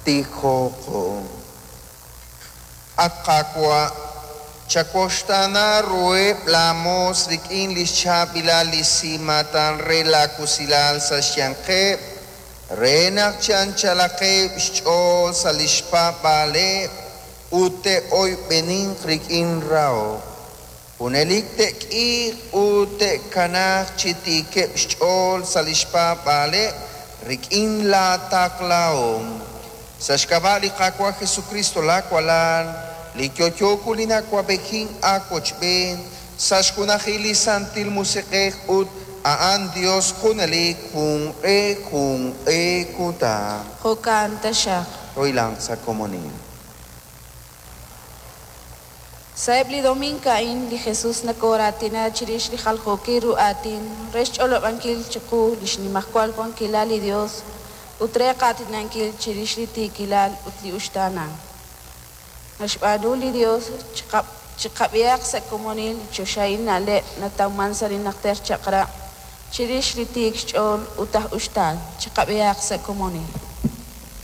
Tijoqo. At Qaawa', chawuxtaana ruheb' laamoos rik'in li xchaab'ilal li simaatan re laawusilal sa' xyanqeb', re naq chi anchalaqeb' xch'ool sa' li xpaab'aaleb' ut te'oyb'eninq rik'in rahok. Junelik te'k'iiq ut te'kanaaq chi tiikeb' xch'ool sa' li xpaab'aaleb' rik'in laataqlahom. Sa' xk'ab'a' li Qaawa' Jesucristo laawalal, li yo'yo li nawab'ejin aawochb'een sa' xjunajil li Santil Musiq'ej ut a'an Dios junelik junq'e junq'e kutan. Jo'kan taxaq. Roilanq sa' komonil. Sa'eb' li domiink a'in, li Jesus nakooratina chirix li jaljookil ru aatin re xch'olob'ankil chiqu li xnimajwal wankilal li Dios ut re qaatinankil chirix li tiikilal ut li uxtaanank. Naxb'aanu li Dios chiqab'ihaq sa' komonil li choxahil na'leb' natawman sa' li najter chaq'rab' chirix li tiik xch'ool ut aj uxtaan. Chiqab'ihaq sa' komonil.